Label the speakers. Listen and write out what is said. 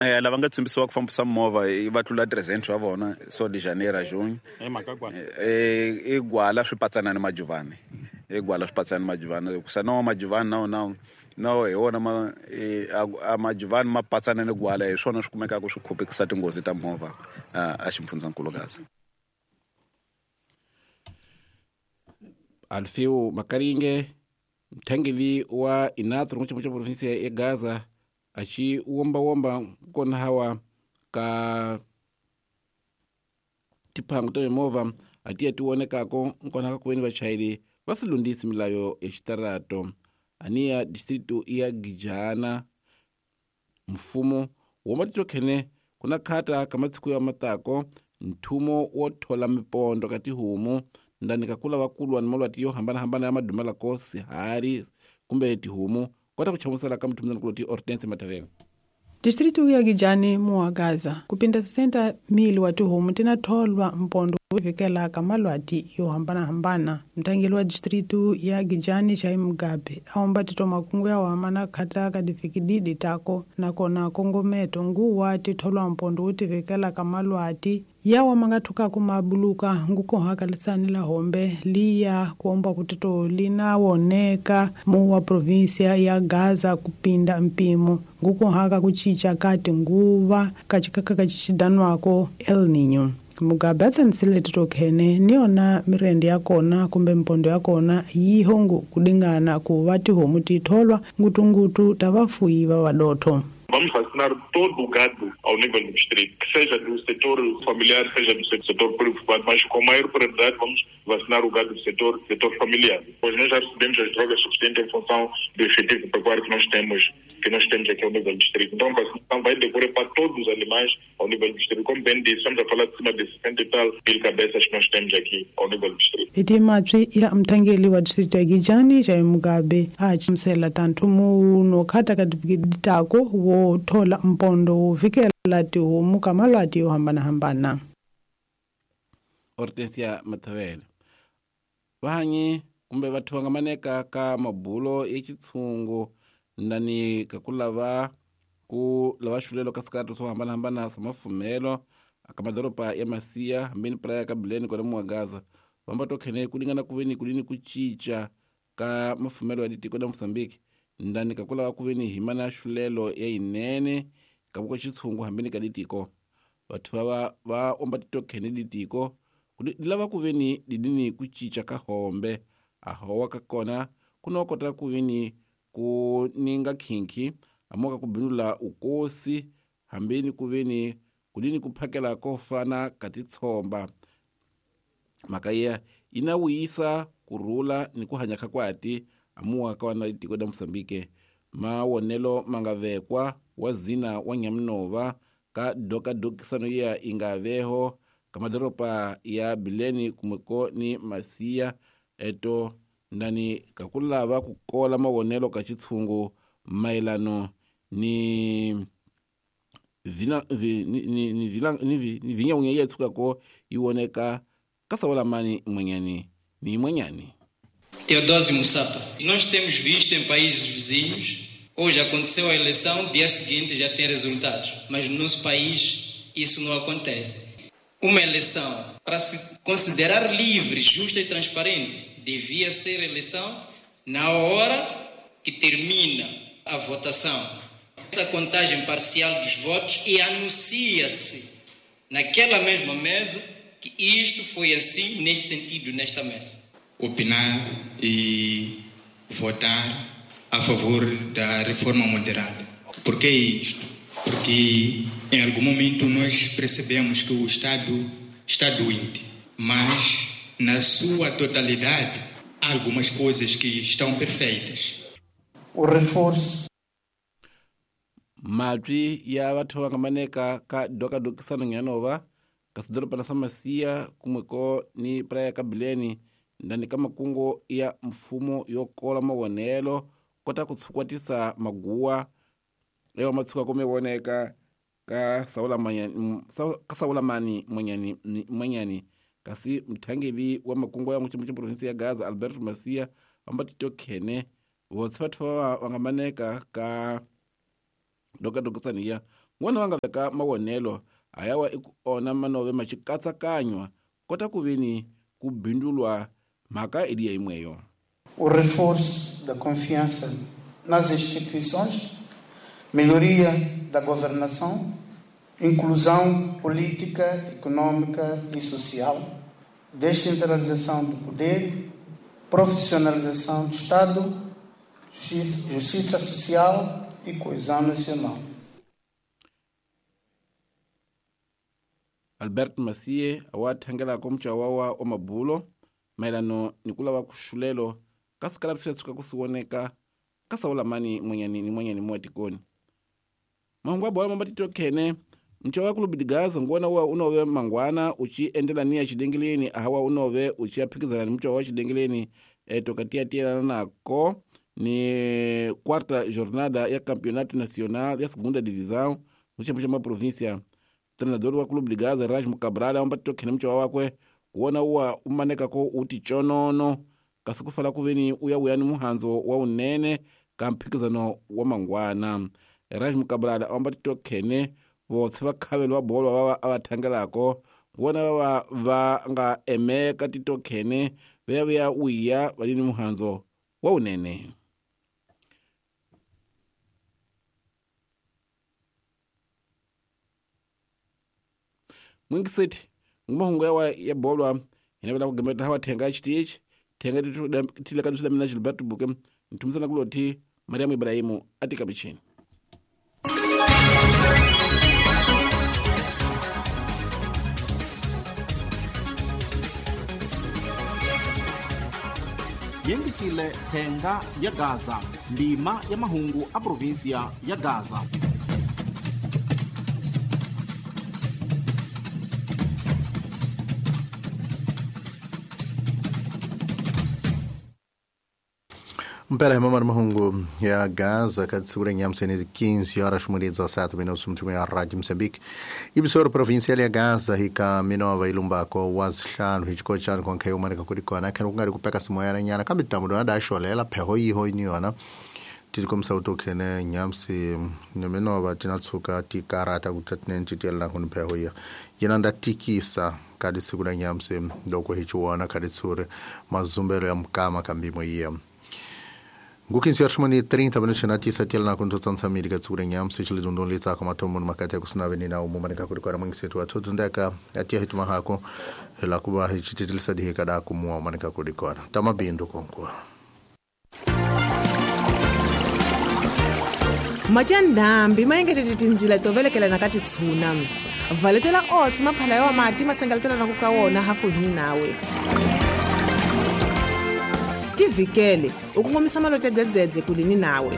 Speaker 1: Lava nga tsimbisiwa ku fambisa movha va tlula 300 wa vona so de Janeiro a junho. I gwala swi patsana ni majuvani. I gwala swi patsana ni majuvani. Ku sa no majuvani no no no hi wona ma a majuvani ma patsana ni gwala hi swona swi kumekaka swi khupekisa tinghozi ta movha a ximfundzankulu Gaza.
Speaker 2: Alfeu Makaringe mthangeli wa Inatro n'wi xa provinsia ya Gaza aci wombawomba kona hawa ka tiphangu ta mimovha atiya ti vonekako nkona ka kuveni vachayeri va si lundzisi milayo ya xitarato aniya distritu ya Gijana mfumo womba titokhene kuna khata ka matsiku ya matako nthumo wo thola mipondo ka tihomu ndani ka kula vakulwa ni malwati yo hambanahambana ya madumelako sihari kumbe tihomu kota ku chamusela ka mthumuzana kuloti Hortense Matavela.
Speaker 3: Distritu ya Gijani muwa Gaza kupinda 60,000 wa tihomu tina tholwa mpondo vikelaka malwati yo hambanahambana. Mtangeli wa distritu ya Gijani Chai Mugabe aomba tito makungu ya wamana khata ka difikididi tako nakona kongometo nguwa titholwa mpondo utivikelaka malwati yawa mangathukaku mabuluka ngukohaka lisani la hombe liya kuomba kutito linawoneka muwa provinsia ya Gaza kupinda mpimo ngukohaka kuchicha kati nguva kachikaka kachichidanwako El Nino. Mugabe atsanisile titokhene niyona mirende yakona kumbe mpondo yakona yihongo kudingana kuva tihomu titholwa ngutungutu tavafuyi va vadotho.
Speaker 4: Vamos vacinar todo o gado ao nível do distrito, que seja do setor familiar, seja do setor privado, mas com maior prioridade vamos vacinar o gado do setor familiar. Pois nós já recebemos as drogas suficientes em função do efetivo pecuário que nós temos aqui ao nível do distrito. Então a vacinação vai decorrer para todos os animais ao nível do distrito. Como bem disse, estamos a falar de cima de 60 e tal mil cabeças que nós temos aqui ao nível do distrito.
Speaker 3: Itimatswi ya mthangeli wa distrito ya Gijani Jai Mugabe achimisela tanthumu nokhata ka ditako wo thola mpondo wo vikela tihomu ka malwati yo hambanahambana.
Speaker 2: Hortensia Matavele. Vahanyi kumbe vathu va nga maneka ka mabulo ya xitshungu ndani ka ku lava xulelo ka swikarato swo hambanahambana swa mafumelo ka madoroba ya Masiya hambeni Praia ka Bileni kona muwa Gaza vamba tokhene ku lingana ku veni kulini ku cinca ka mafumelo ya tiko la Mozambique ndani ka ku lava ku veni hi mana xulelo ya yinene ka vuko xitshungu hambeni ka litiko vathu va omba titokhene litiko lava ku veni lidini ku cinca ka hombe a howa ka kona kuno kota ku veni ku ninga khinkhi amoka ku binula ukosi hambeni ku veni kulini ku phakela ko fana ka titshomba mhaka ya ina wuyisa kurhula ni ku hanya ka kwati amuwa ka wana litiko la Mozambique mawonelo mangavekwa wa zina wa Nyamunova ka dokadokisano ya ingaveho ka madoropa ya Bileni kumweko ni Masiya eto ndani kakulava kukola mawonelo ka xitshungu mayelano ni vinyaunya ya tshukako yi voneka ka Saolamani mwenyani ni mwenyani.
Speaker 5: Teodósio Musapa, nós temos visto em países vizinhos, hoje aconteceu a eleição, dia seguinte já tem resultados, mas no nosso país isso não acontece. Uma eleição, para se considerar livre, justa e transparente, devia ser eleição na hora que termina a votação. Essa contagem parcial dos votos e anuncia-se naquela mesma mesa que isto foi assim, neste sentido, nesta mesa.
Speaker 6: Opinar e votar a favor da reforma moderada. Por que isto? Porque em algum momento nós percebemos que o Estado está doente, mas na sua totalidade há algumas coisas que estão perfeitas.
Speaker 7: O reforço.
Speaker 2: Matwi ya vathu va nga maneka ka dokadokisano nyanova ka sidorobana sa Masiya kumweko ni Praia ka Bileni ndani ka makungu ya mfumo yo kola mawonelo kota ku tshukwatisa maguwa ewa matshuka kumewoneka ka Saolamani mwenyani kasi mthangeli wa makungu ya muchimu cha provinsi ya Gaza Alberto Masia vamba titokhene votse vathu va nga maneka ka dokadokisaniya N'wana va nga veka mavonelo hayawa i ku ona manove ma xikatsakanywa kota ku veni ku bindulwa mhaka eliya yimweyo.
Speaker 7: O reforço da confiança nas instituições, melhoria da governação, inclusão política, econômica e social, descentralização do poder, profissionalização do Estado, justiça social e coesão nacional.
Speaker 2: Albert Masie wa thangelako mchawawa wa mabulo maelano ni kulava kuxulelo ka sikala swi tshuka ku siwoneka ka sawulamani mwenyani ni mwenyani mo tikoni. Mahungu ya bola mambatito khene mchawa club de Gaza ngona wa unove mangwana uchi endela ni ya chidengeleni ahawa unove uchi aphikizana ni mchawa wa chidengeleni tokatia tielana nako ni quarta jornada ya campeonato nacional ya segunda divisão muchama cha província. Treinador wa club de Gaza Rajmo Cabral ambatito khene mchawa wakwe kuona uwa umaneka ko uti chonono kasi kufala kuveni uya uyani muhanzo wa unene ka mphikizano wa mangwana. Rajmo Cabral ambatito khene votse va khavelo wa bolo va va thangelako vona va va nga emeka titokhene veya veya uya valini muhanzo wa unene. Mwingiseti ngumahungu yawa ya bolwa inavela kugemeta hawa thenga chitichi thenga tileka tusila mina Gilberto Buke ntumisana kuloti Mariamu Ibrahimu atika michini.
Speaker 8: Yengisile thenga ya Gaza, ndima ya mahungu a província ya Gaza.
Speaker 9: Mpera hi mamari mahungu ya Gaza katsura nyamsene 15 horas 17 minutos mtume ya Radio Moçambique. Ibisoro provincial ya Gaza hika minova ilumbako wasihlanu hichikochana konke umaneka kurikona khena kungari kupeka simoyana nyana kambe tamudo adasholela pheho yiho iniyona titikomisa utokhene nyamsi neminova tinatsuka tikarata kutatinentitiyela kunipheho iya yena ndatikisa kadi siku la nyamsi loko hichiwona kadi tsuri mazumbelo ya mukama kambimo iya Ngukinsi yarshmani 30 minutos na tisa telna kunto tsansamiri ka tsure nyamsi chile dundon litsa ka matomo makati ya kusina venina umumane ka kurikora mwingisetu wa tundeka atia hituma hako hela kuba hichititilisa dihika da kumua umane ka kurikora tamabindo konkwa
Speaker 10: Majandambi maengetete tindzila to velekelana ka titshuna valetela oats maphala ya mati masengeletela na ku ka wona hafu hi nawe tivikele u kongomisa malote dzedzedze kulini nawe.